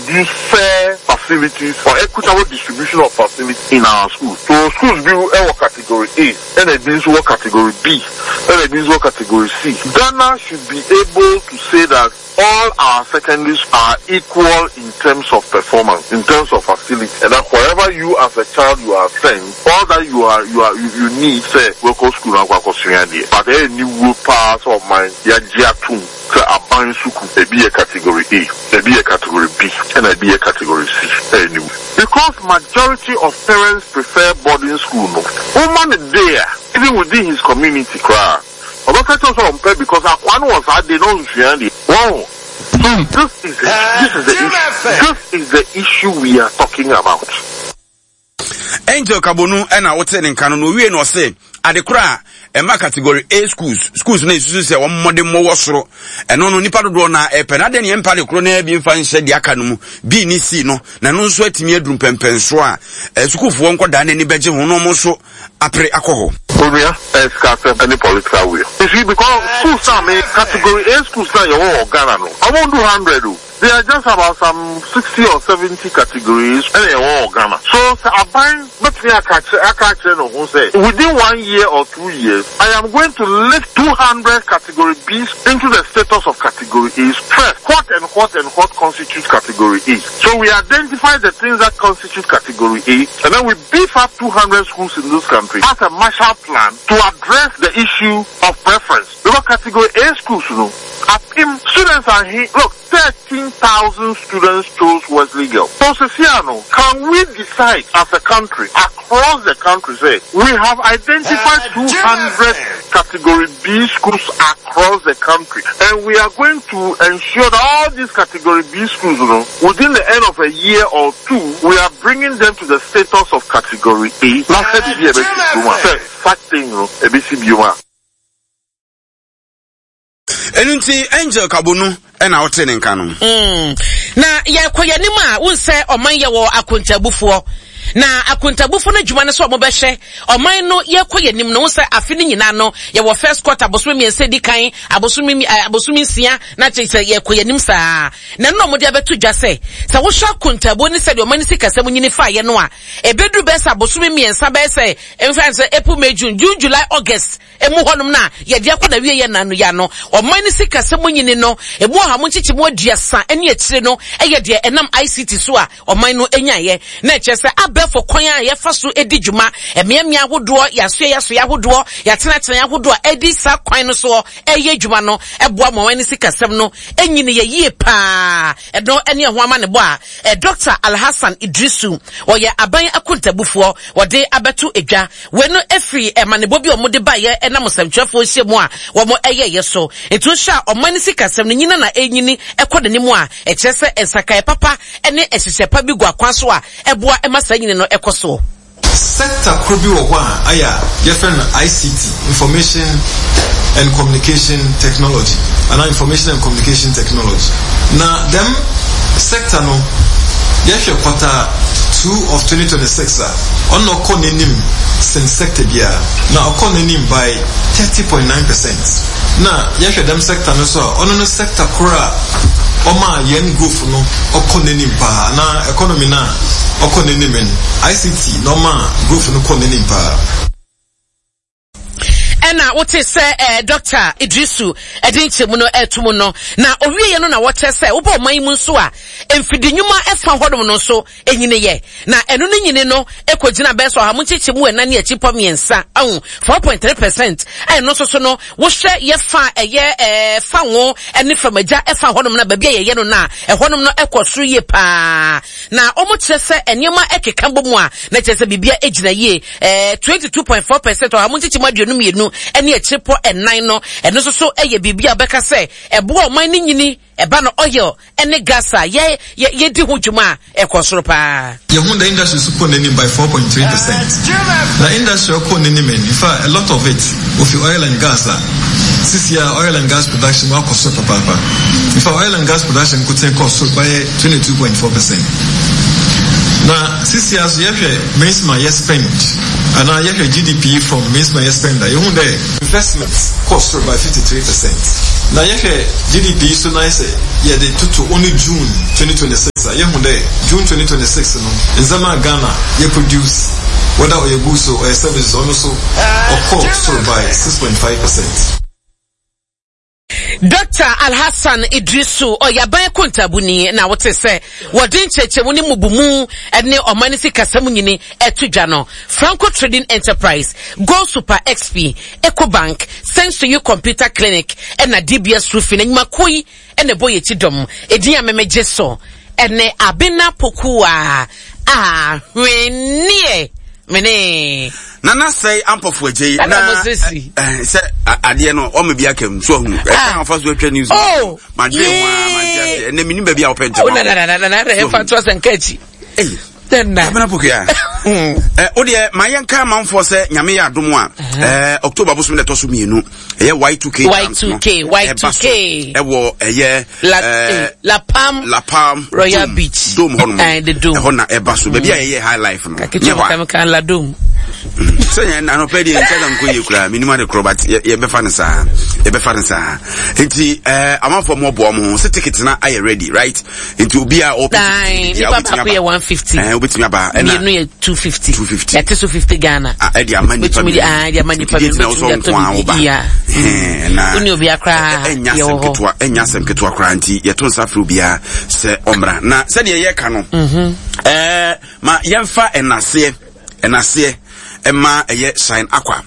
produce fair facilities or equitable distribution of facilities in our schools. So schools bi wɔ category A ɛna ebi nso wɔ category B ɛna ebi nso wɔ category C. Ghana should be able to say that all our secondaries are equal in terms of performance, in terms of facility, and that wherever you as a child you are sent, all that you are you are you, you need sɛ wɛkɔ school na akɔ akɔsua adeɛ. But ɛyɛ aniwuo paa sɛ ɔman yɛagye atom sɛ aban sukuu ebi yɛ category A, ebi yɛ category B, ɛna ebi yɛ category C. Ɛyɛ aniwuo. Because majority of parents prefer boarding school no, woma no day a, even within his community koraa, Ɔbɛka kyerɛ wo sɛ ɔmpɛ because akoa no wɔ saa de na ɔnsua adeɛ. Wahu? So this is this is the issue. This is the issue we are talking about. Angel Kabonu ɛna wote ne nka no na owie na ɔse ade koro a ɛma category A schools schools no esusu sɛ wɔn mmɔden mmɔ wɔ soro ɛno no nipa dodoɔ na ɛpɛ na adeɛ ne yɛn mpa de koro na bi nfa nhyɛ deɛ aka no mu B ne C no na ɛno nso atumi aduru mpɛmpɛnsoɔ a eh, sukuufoɔ nkɔdaa n'ani bɛgye ho na wɔn nso apere akɔ hɔ. Onua, ɛyɛ sikasɛm ne political will. You see, because schools na me, category A schools na yɛwɔ wɔ Ghana no, ɔmo ndu hundred o. They are just about some 60 or 70 categories ɛna yɛwɔ wɔ Ghana. So sɛ aban bɛtumi aka akyerɛ aka akyerɛ ne ho sɛ within one year or 2 years, I am going to lift 200 category Bs into the status of category A's. First, what and what and what constitutes category A? So we identify the things that constitute category A, and then we beef up 200 schools in this country as a Marshall Plan to address the issue of preference. Because category A schools, students are here. Look, 13,000 students chose Wesley Girls. So, Ceciano, can we decide as a country, across the country, say, we have identified 200 category B schools across the country, and we are going to ensure that all these category B schools, within the end of a year or two, we are bringing them to the status of category A. Last such thing, you Ɛno nti Angel Kabonu ɛna wote ne nka no. Na yɛkɔ yɛn anim a wohu sɛ ɔman yɛ wɔ akontabufoɔ na akontabufo no adwuma no sɛ wɔbɛhwɛ ɔman no yɛkɔ yɛn anim no wohu sɛ afe no nyinaa no yɛwɔ first quarter abosome mmiɛnsa di kan abosome eh, abosome nsia na kyerɛ sɛ yɛkɔ yɛn anim saa na ɛno na wɔde abɛto dwa sɛ sɛ wohwɛ akontabuo ne sɛdeɛ ɔman no sikasɛm nyini faeɛ no a ɛbɛduru bɛyɛ sɛ abosome mmiɛnsa bɛyɛ sɛ mfa sɛ April May June June July August Emu hɔnom no a yɛde akɔ n'awieeɛ nna yi ano. Ɔman no sikasɛm mu nyini no, emu ɔha mu nkyekyɛmu 30 ne akyire no yɛ deɛ ɛnam ICT so a ɔman no nyaeɛ. Na ɛkyerɛ sɛ abɛɛfo kwan a yɛfa so di dwuma, mmeammea ahodoɔ, yɛasoɛeɛ asoɛeɛ ahodoɔ, yɛatenatenaeɛ ahodoɔ a ɛdi saa kwan no soɔ reyɛ adwuma no boa ma ɔman no sikasɛm no nyini yɛ yie pa ara. Ɛno ne ɛho amanebɔ a Dɔkta Alhassan Iddrisu, ɔyɛ aban akontabufoɔ, ɔde abɛto dwa. Wei no firi amanebɔ bi a wɔde baeɛ ɛnam nsɛmtwerɛfoɔ nhyiamu a wɔyɛeɛ so. Nti wohwɛ a ɔman no sikasɛm no nyina na ɛrenyini kɔ n'anim a, ɛkyerɛ sɛ nsakraeɛ papa ne nhyehyɛɛ pa bi gu akwan so a ɛboa ma saa nyini no kɔ soɔ. Sector kor bi wɔ hɔ a ayɛ a yɛfrɛ no ICT, Information and Communication Technology anaa Information and Communication Technology. Na dɛm sector no yɛhwɛ quarter two of 2026 a, Ɔno na ɔkɔ n'enyim sen sector biara, na ɔkɔ n'enyim by 30.9 percent. Na yɛhwɛ dɛm sector no so a, ɔno no sector kor a ɔmaa hɛn growth no ɔkɔ n'enyim paa, anaa economy no a ɔkɔ n'enyim no, ICT na ɔmaa growth no kɔɔ n'enyim paa. Ɛna wote sɛ eh, Dɔkta Idrisu ɛde nkyɛmu no ɛto mu no, na owieɛ no na wɔkyerɛ sɛ wobɔ ɔman yi mu nso a, mfidi nnwuma ɛfa hɔnom no nso ɛnyiniyɛ, na ɛno no nyini no ɛkɔgyina bɛyɛ sɛ ɔha mu nkyekyɛmu ɛnan ne akyipɔ mmiɛnsa, ahu, 4.3%, a ɛno nso so no wohwɛ yɛfa ɛyɛ ɛɛ fa ngo ɛne famagya ɛfa hɔnom na baabi a yɛyɛ no no a ɛhɔnom no ɛkɔ soro yie paa, na wɔn kyerɛ sɛ nneɛma ɛkeka bɔ mu a na kyerɛ sɛ biribia ɛgyina yie. Eh, 22.4 percent, ɔha mu nkyekyɛmu 52 ne akyirepɔ ɛnan no, ɛno nso so yɛ biribi a wɔbɛka sɛ ɛboa ɔman no nyini, ɛba no oil ne gas a yɛ yɛ yɛdi ho dwuma a ɛkɔ soro paa. Yɛhu the industry nso kɔɔ n'anim by 4.3 percent. Na industry a ɔkɔɔ n'anim no, in fact, a lot of it ofi oil and gas a sisi a oil and gas production wakɔ soro papaapa. In fact, oil and gas production nkotsee kɔɔ soro bɛyɛ 22.4 percent. Na sisi a so yɛhwɛ Mensima yɛ spend anaa yɛhwɛ GDP from Mensima yɛ spend a, yehu dɛ investment kɔɔ sor by 53 percent. Na yɛhwɛ GDP yi so na sɛ yɛdze toto ɔno June 2026 a, yehu dɛ June 2026 no, ndzɛmba a Ghana yɛ produce, whether ɔyɛ goods o, ɔyɛ services o, ɔno so ɔkɔr sor by 6.5 percent. Dɔkta Alhassan Iddrisu, ɔyɛ aban akontaabuni na wote sɛ wɔde nkyerɛkyerɛmu ne mmubumu ne ɔman no sikasɛm nyini ɛto dwa no. Franco Trading Enterprise, Gold Super XP, Ecobank, Sensoyu Computer Clinic ɛna DBS Roofing nnwumakuo yi ɛna ɛbɔ yɛn akyi dɔm. Edin a memegye so ɛne Abena Pokuaa Ahweneɛ. Mene. Nana sɛe ampɔfo agya yi na sɛ adeɛ no ɔma bi aka mu so ahu ɛka afa so atwa news oh, madwene ho a mante ase ɛnɛ menim baabi a wopɛ ntɛm oh, na na na na na ɛfa to asɛ nka akyi abena pokua wo deɛ ma yɛnka amanfoɔ sɛ nyame yɛ adom a october bosom na ɛtɔ so mmienu ɛyɛ y2k y2k y2k ɛwɔ ɛyɛ la eh, la palm la palm royal dome, beach dome hɔ nom eh, the dome ɛhɔ na ɛba so baabi a yɛyɛ high life no nyɛ hɔ a la dome sɛ yɛn anɔpɛ deɛ nkyɛn na nkɔ yie koraa menim ade korɔ but yɛbɛfa no saa yɛbɛfa no saa nti ɛɛ amanfoɔ mo ɔboa mo ho sɛ ticket na ayɛ ready right nti obi a ɔpɛ ticket bi a wobɛtumi aba yɛ 150 ɛɛ wobɛtumi aba ɛna mmienu yɛ 250 250 yɛte so 50 Ghana ɛde ama nipa mmienu ɛde ama nipa mmienu wobɛtumi de atɔ biribi ya ɛna wone obi akora ɛnya asɛm ketewa ɛnya asɛm ketewa koraa nti yɛto nsa frɛ obiara sɛ ɔmmra na sɛdeɛ yɛka no mhm. ɛɛ ma yɛmfa ɛnaseɛ ɛnaseɛ ɛma ɛyɛ shine aqua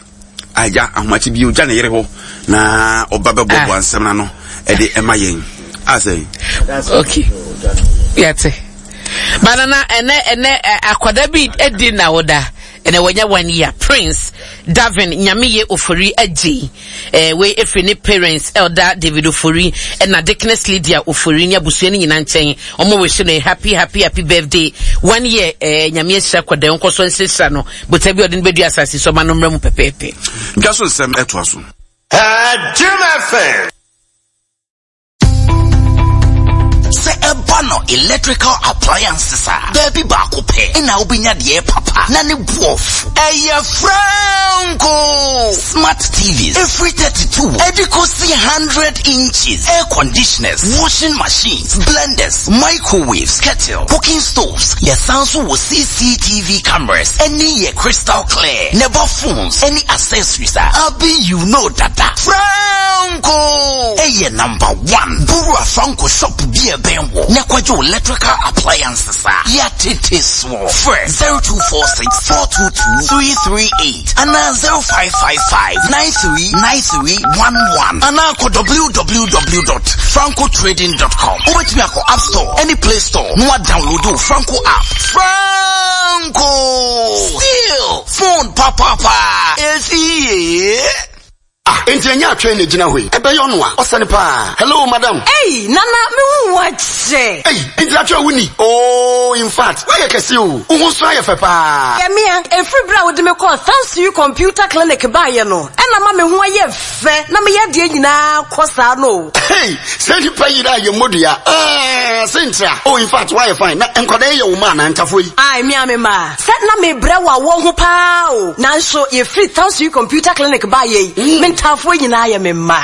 Agya ahomakye bi ogya ne yere hɔ na ɔba bɛboaboa ah. nsɛm no ano ɛde ɛma yɛn asɛ. Okay, yɛte. Banana ɛnɛ ɛnɛ akwadaa bi adi na woda ɛnɛ wɔnya one year Prince Davin Nyameye Ofori agye eh, wei efiri ne parents Elder David Ofori ɛna Dickness Lydia Ofori ne abusua no nyinaa nkyɛn wɔn wɔ no happy happy happy birthday one year eh, Nyame ahyira akwadaa nkɔ so nhyira no Botae bi a ɔde no bɛdua asase so ɔma no mmra mu pɛpɛɛpɛ. Dwa so nsɛm ɛtoa so. Jim FM. Sɛ ɛba no electrical appliances a, baabi baako pɛ na wobɛnya deɛ papa na ne boɔ fo. Ɛyɛ Franco! Smart TVs ɛfiri 32 ɛde kɔsi 100 inches, air conditioners, washing machines, blenders, microwaves, kettle, cooking stoves. Yɛsan nso wɔ CCTV cameras ɛne yɛ crystal clear na ɛba phones ɛne accessories a abi you know dada. Franco ɛyɛ number one. Bowura Franco shop bi a ɛbɛn wo na kɔgye wo electrical appliances a yɛatete soɔ. Frɛ 0246 422 338 anaa 0555 939311 anaa kɔ www.francotrading.com. Wobɛtumi akɔ App Store ɛne Play Store na woadownload wo Franco app. Franco! Still phone papaapa! Ɛsi yie! Ah, enti ɛnyɛ atwɛn na egyina hɔ yi. Ɛbɛyɛ ɔno a, ɔsɛ no paa. Hello, madam. Ei, Nana, me hu wo akyɛ. Ei, enti atwɛn wo ni? Oh, in fact, woayɛ kɛse o. Wo ho nso ayɛ fɛ paa. Yɛ mea, ɛfiri berɛ a wode me kɔɔ Thanks You Computer Clinic baeɛ no, ɛna ama me ho ayɛ fɛ na me yadeɛ nyinaa kɔ saa no o. Hey, sɛ nipa yera a yɛ mmɔ dua. Ah, sentira. Oh, in fact, woayɛ fine. Na nkwadaa yi yɛ wo mma anaa ntafoɔ yi? Ae, me a me mma. Sɛ na mebrɛ wɔ awɔ ho paa o, nanso yɛfiri Townsville Computer Clinic baeɛ yi, me ntaafoɔ nyinaa yɛ me mma.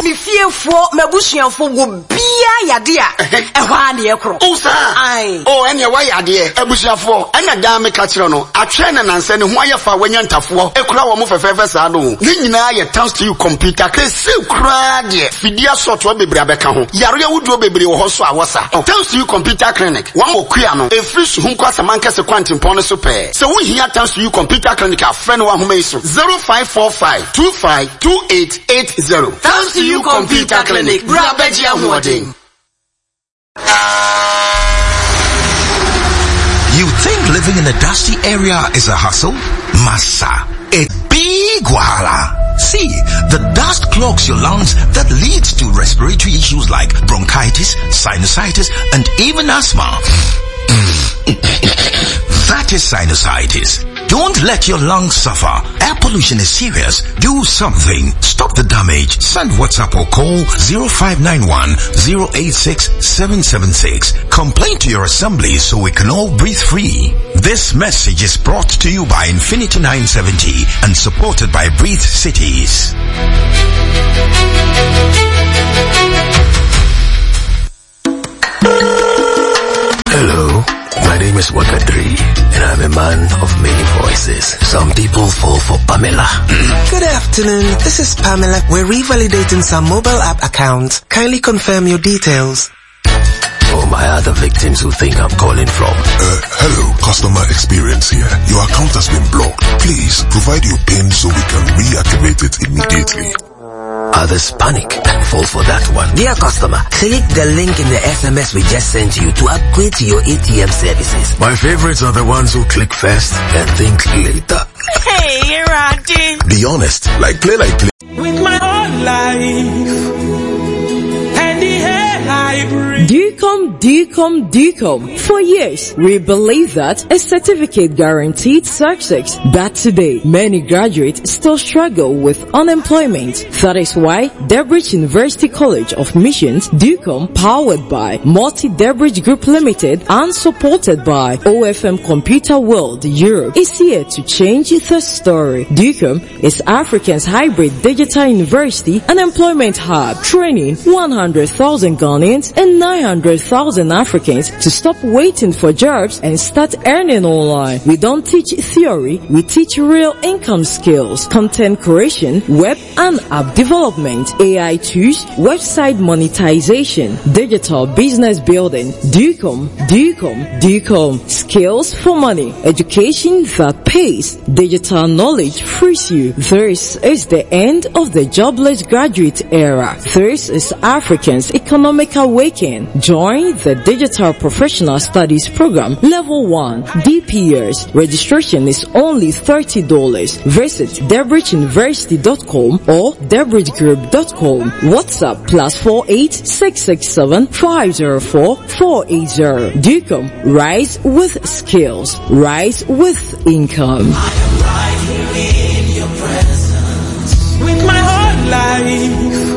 Me fiefoɔ, m'abusuafoɔ, obiara yɛ adeɛ a, ɛhɔ ara na yɛkorɔ. Oh, saa? Ae. Oh, ɛnneɛ woayɛ adeɛ. Abusuafoɔ, ɛna daa meka kyerɛ no, atwerɛ na nansɛ ne ho ayɛ fa a wanya ntafoɔ kura wɔn fɛfɛɛfɛ saa no o. Ne nyinaa yɛ Townsville Computer Clinic. Seesei koraa deɛ, fidie asɔɔtoa bebree abɛka ho. Yareɛ ahodoɔ bebree wɔ hɔ nso a wɔsa. Townsville Computer Clinic. Wɔn wɔ Kua no, ɛfiri Suhum kɔ Asamankɛse kwantempɔn no so pɛɛ. Sɛ wohia Tansuyu Computer Clinic a, frɛ no wɔ ahoma yi so, 0545 25 2880. Tansuyu Computer Clinic, bra bɛgye ahoɔden. You think living in a dusty area is a hassle? Massa, a big wahala. See, the dust clogs your lungs that leads to respiratory issues like bronchitis, sinusitis, and even asthma. That is sinusitis. Don't let your lungs suffer. Air pollution is serious. Do something. Stop the damage. Send WhatsApp or call 0591 086 776. Complain to your assembly so we can all breathe free. This message is brought to you by Infinity 970 and supported by Breathe Cities. name is Waka 3, and I'm a man of many voices. Some people fall for Pamela. Good afternoon. This is Pamela. We're revalidating some mobile app accounts. Kindly confirm your details. For my other victims who think I'm calling from. Uh, hello, customer experience here. Your account has been blocked. Please provide your PIN so we can reactivate it immediately. Others panic and fall for that one. Dear customer, click the link in the SMS we just sent you to upgrade to your ATM services. My favorites are the ones who click first and think later. Hey, Roddy. Be honest, like play like play. With my whole life and the air I breathe. DUCOM, DUCOM, DUCOM. For years, we believe that a certificate guaranteed success. But today, many graduates still struggle with unemployment. That is why Debridge University College of Missions, DUCOM, powered by Multi Debridge Group Limited and supported by OFM Computer World Europe, is here to change the story. DUCOM is Africa's hybrid digital university and employment hub, training 100,000 Ghanaians and 900,000 Africans to stop waiting for jobs and start earning online. We don't teach theory, we teach real income skills, content creation, web and app development, AI tools, website monetization, digital business building, DUCOM, DUCOM, DUCOM, skills for money, education that pays, digital knowledge frees you. This is the end of the jobless graduate era. This is Africans' economic awakening. Join the Digital Professional Studies Program Level 1 DPS. Registration is only $30. Visit debridgeuniversity.com or debridgegroup.com. WhatsApp plus 48 667 504 480. DUCOM, rise with skills, rise with income. With my whole life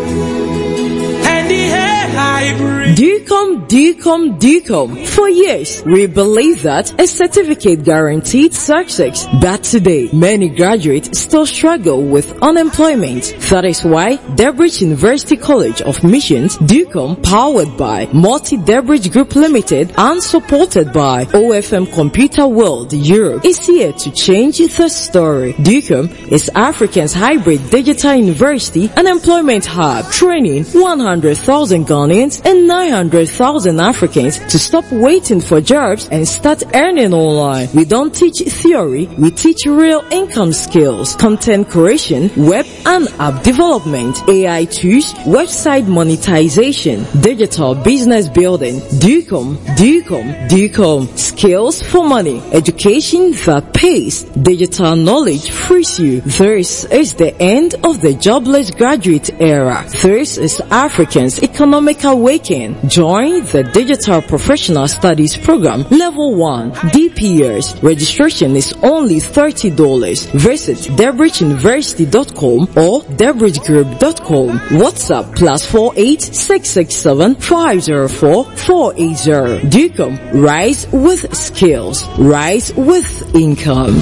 and the air I breathe. DUCOM, DUCOM, DUCOM. For years, we believe that a certificate guaranteed success. But today, many graduates still struggle with unemployment. That is why Debridge University College of Missions, DUCOM, powered by Multi Debridge Group Limited and supported by OFM Computer World Europe, is here to change the story. DUCOM is Africa's hybrid digital university and employment hub, training 100,000 Ghanaians and 900,000 Africans to stop waiting for jobs and start earning online. We don't teach theory, we teach real income skills, content creation, web and app development, AI tools, website monetization, digital business building, DUCOM, DUCOM, DUCOM, skills for money, education that pays, digital knowledge frees you. This is the end of the jobless graduate era. This is Africans' economic awakening. Join the Digital Professional Studies Program Level 1 DPS. Registration is only $30. Visit debridgeuniversity.com or debridgegroup.com. WhatsApp plus 48 667 504 480. DUCOM, rise with skills, rise with income.